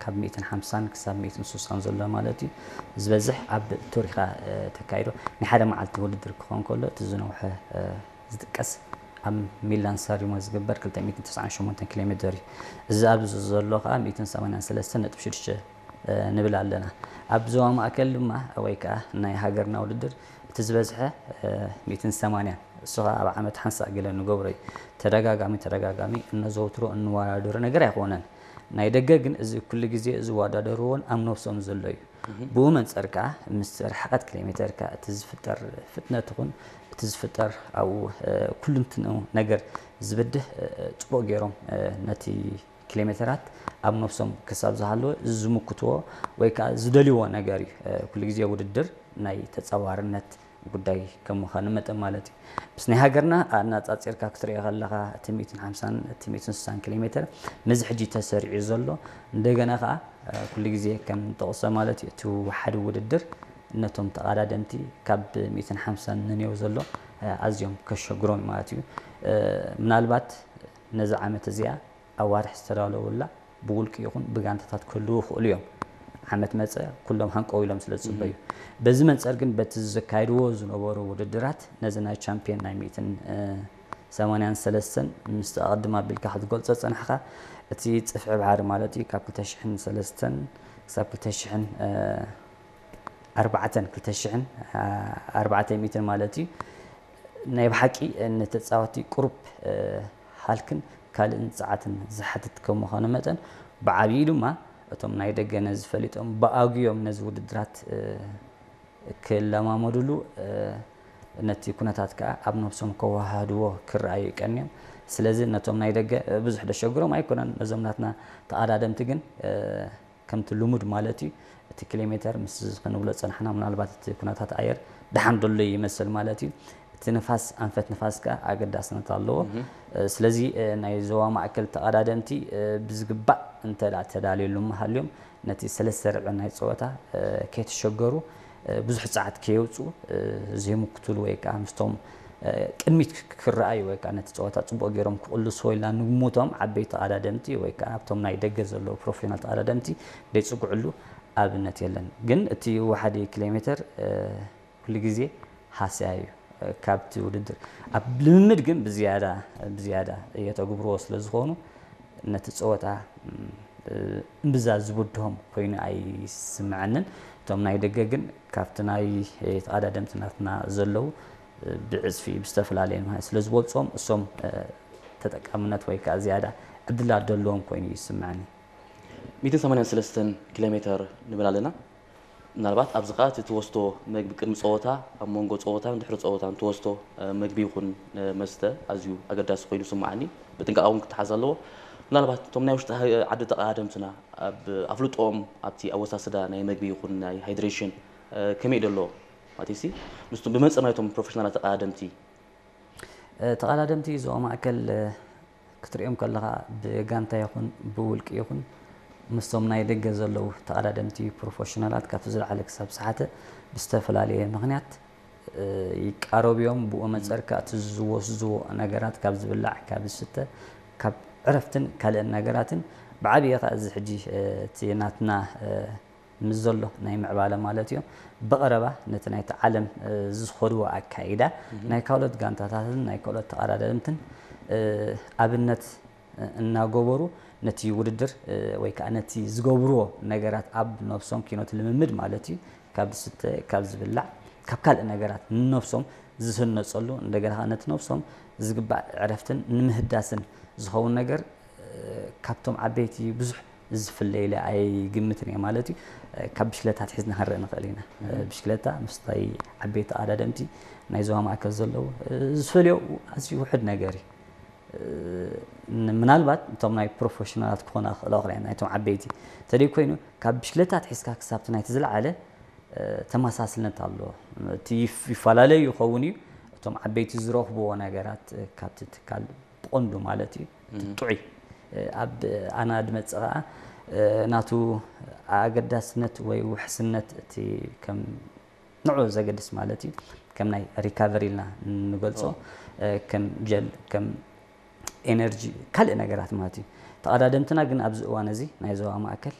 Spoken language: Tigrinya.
ካብ ሚእትን ሓምሳን ክሳብ ሚእትን ስሳን ዘሎ ማለት እዩ። ዝበዝሕ ኣብ ቱሪኻ ተካይዶ ናይ ሓደ መዓልቲ ውድድር ክኾን ከሎ እቲ ዝነውሐ ዝጥቀስ ኣብ ሚላን ሳሪሞ ዝግበር ክልተ ሚእትን ተስዓን ሸሞንተን ኪሎ ሜትር እዩ። እዚ ኣብዚ ዘሎ ከዓ ሚእትን ሰማንያን ሰለስተን ነጥቢ ሽዱሽተ ንብል ኣለና። ኣብ ዞባ ማእከል ድማ ወይ ከዓ ናይ ሃገርና ውድድር እቲ ዝበዝሐ ሚእትን ሰማንያን እሱ ከዓ ኣብ ዓመት ሓንሳእ ገለ ንገብሮ እዩ። ተደጋጋሚ ተደጋጋሚ እነዘውትሮ እንወዳደሮ ነገር ኣይኮነን። ናይ ደገ ግን እዚ ኩሉ ግዜ ዝወዳደርዎን ኣብ ነብሶም ዘሎ እዩ። ብኡ መንጸር ከዓ ምስ ርሕቀት ኪሎ ሜተር ከዓ እቲ ዝፍጠር ፍጥነት ይኹን እቲ ዝፍጠር ኣብኡ ኩልንትንኡ ነገር ዝብድህ ጽቡቕ ገይሮም ነቲ ኪሎ ሜተራት ኣብ ነብሶም ክሳብ ዝሃለወ ዝምክትዎ ወይ ከዓ ዝደልይዎ ነገር እዩ። ኩሉ ግዜ ውድድር ናይ ተጻዋርነት ጉዳይ ከም ምዃኑ መጠን ማለት እዩ። ምስ ናይ ሃገርና ኣነጻጺርካ ክትሪኦ ከለኻ እቲ ሚእትን ሓምሳን እቲ ሚእትን ስሳን ኪሎ ሜተር ነዚ ሕጂ ተሰሪዑ ዘሎ እንደገና ከዓ ኩሉ ግዜ ከም ንጠቕሶ ማለት እዩ እቲ ሓደ ውድድር ነቶም ተቐዳደምቲ ካብ ሚእትን ሓምሳን ንንየው ዘሎ ኣዝዮም ከሸግሮም ማለት እዩ። ምናልባት ነዚ ዓመት እዚኣ ኣዋርሕ ዝተዳለውላ ብውልቂ ይኹን ብጋንታታት ክህልዉ ይኽእሉ እዮም። ዓመት መጸ ኩሎም ሃንቀው ኢሎም ስለ ዝጽበዩ። በዚ መንጸር ግን በቲ ዘካይድዎ ዝነበሩ ውድድራት ነዚ ናይ ቻምፒዮን ናይ ሚእትን ሰማንያን ሰለስተን ምስቲ ኣቐድም ኣቢልካ ክትገልጾ ዝጸናሕካ እቲ ጽፍዒ ባሕሪ ማለት እዩ ካብ ክልተ ሽሕን ሰለስተን ክሳብ ክልተ ሽሕን ኣርባዕተን ክልተ ሽሕን ኣርባዕተ ሚእትን ማለት እዩ ናይ ብሓቂ ንተጻወቲ ቁሩብ ሃልክን ካልእን ጸዓትን ዝሓትት ከም ምዃኑ መጠን ብዓብዪ ድማ እቶም ናይ ደገ ነዚ ፈሊጦም ብኣግዮም ነዚ ውድድራት ክለማመድሉ ነቲ ኩነታት ከዓ ኣብ ነብሶም ከወሃድዎ ክረኣዩ ይቀንዮም። ስለዚ ነቶም ናይ ደገ ብዙሕ ደሸግሮም ኣይኮነን። ነዞም ናትና ተቐዳደምቲ ግን ከምቲ ልሙድ ማለት እዩ እቲ ኪሎ ሜተር ምስ ክንብሎ ፀናሕና ምናልባት እቲ ኩነታት ኣየር ደሓን ደሎ ይመስል ማለት እዩ። እቲ ንፋስ ኣንፈት ንፋስ ከዓ ኣገዳስነት ኣለዎ። ስለዚ ናይ ዞባ ማእከል ተቐዳደምቲ ብዝግባእ እንተ ተዳልየሉ ሃልዮም ነቲ ሰለስተ ርብዒ ናይ ፀወታ ከይተሸገሩ ብዙሕ ፃዕት ከየውፅኡ ዘይምክትሉ ወይ ከዓ ምስቶም ቅድሚት ክረኣዩ ወይ ከዓ ነቲ ፀወታ ፅቡቅ ገይሮም ክቕልስዎ ኢልና ንግምቶም ዓበይቲ ተቐዳደምቲ ወይ ከዓ ኣብቶም ናይ ደገ ዘለዉ ፕሮፌሽናል ተቐዳደምቲ ደይፅግዕሉ ኣብነት የለን። ግን እቲ ወሓዲ ኪሎ ሜተር ኩሉ ግዜ ሃስያ እዩ ካብቲ ውድድር ኣብ ልምምድ ግን ብዝያዳ ብዝያዳ የተግብርዎ ስለ ዝኾኑ ነቲ ፀወታ እምብዛ ዝብድሆም ኮይኑ ኣይስምዐንን። እቶም ናይ ደገ ግን ካብቲ ናይ ተቐዳደምቲ ናትና ዘለዉ ብዕፅፊ ብዝተፈላለየ ስለ ዝበልፅዎም እሶም ተጠቃምነት ወይ ከዓ ዝያዳ ዕድላት ደለዎም ኮይኑ ይስምዐኒ። ሚእትን ሰማንያን ሰለስተን ኪሎ ሜተር ንብል ኣለና። ምናልባት ኣብዚ ከዓ እቲ ትወስዶ መግቢ ቅድሚ ፀወታ ኣብ መንጎ ፀወታን ድሕሪ ፀወታን ትወስዶ መግቢ ይኹን መስተ ኣዝዩ ኣገዳሲ ኮይኑ ይስምዓኒ። ብጥንቃቐ እውን ክተሓዝ ኣለዎ። ምናልባት እቶም ናይ ውሽጢ ዓዲ ተቐዳደምትና ኣብ ኣፍልጦኦም ኣብቲ ኣወሳስዳ ናይ መግቢ ይኹን ናይ ሃይድሬሽን ከመይ ደሎ ማለት ሲ ምስቶም ብመንፅር ናይቶም ፕሮፌሽናላት ተቐዳደምቲ ተቐዳደምቲ ዞባ ማእከል ክትሪኦም ከለኻ ብጋንታ ይኹን ብውልቂ ይኹን ምስቶም ናይ ደገ ዘለዉ ተቐዳደምቲ ፕሮፌሽናላት ካብቲ ዝለዓለ ክሳብ ዝሓተ ብዝተፈላለየ ምኽንያት ይቃረቡ እዮም። ብኡ መንፅር ከዓ እቲ ዝወስድዎ ነገራት ካብ ዝብላዕ ካብ ዝስተ ካብ ዕረፍትን ካልእን ነገራትን ብዓብዪ ከዓ እዚ ሕጂ እቲ ናትና ምስ ዘሎ ናይ ምዕባለ ማለት እዩ ብቐረባ ነቲ ናይቲ ዓለም ዝኸድዎ ኣካይዳ ናይ ካልኦት ጋንታታትን ናይ ካልኦት ተቐዳደምትን ኣብነት እናገበሩ ነቲ ውድድር ወይ ከዓ ነቲ ዝገብርዎ ነገራት ኣብ ነብሶም ኪኖት ልምምድ ማለት እዩ ካብ ዝስተ ካብ ዝብላዕ ካብ ካልእ ነገራት ንነብሶም ዝህነፀሉ እንደገና ከዓ ነቲ ነብሶም ዝግባእ ዕረፍትን ንምህዳስን ዝኸውን ነገር ካብቶም ዓበይቲ ብዙሕ ዝፍለ ኢለ ኣይግምትን እየ ማለት እዩ። ካብ ብሽክለታ ኣትሒዝና ክንርኢ ንኽእል ኢና። ብሽክለታ ምስታይ ዓበይቲ ተቐዳደምቲ ናይ ዞባ ማእከል ዘለዉ ዝፈልዮ ኣዝዩ ውሑድ ነገር እዩ። ምናልባት እቶም ናይ ፕሮፌሽናላት ክኾና ክኽእላ ክኽእላ ናይቶም ዓበይቲ እንተደይ ኮይኑ ካብ ብሽክለታ ኣትሒዝካ ክሳብቲ ናይቲ ዝለዓለ ተመሳስልነት ኣለዎ። እቲ ይፈላለዩ ይኸውን እዩ። እቶም ዓበይቲ ዝረኽብዎ ነገራት ካብቲ ትካል ብቐንዱ ማለት እዩ እቲ ጥዑይ ኣብ ኣና ድመፅእ ከዓ ናቱ ኣገዳስነት ወይ ውሕስነት እቲ ከም ንዑ ዘገድስ ማለት እዩ ከም ናይ ሪካቨሪ ኢልና ንገልፆ ከም ጀል ከም ኤነርጂ ካልእ ነገራት ማለት እዩ። ተቐዳደምትና ግን ኣብዚ እዋን እዚ ናይ ዞባ ማእከል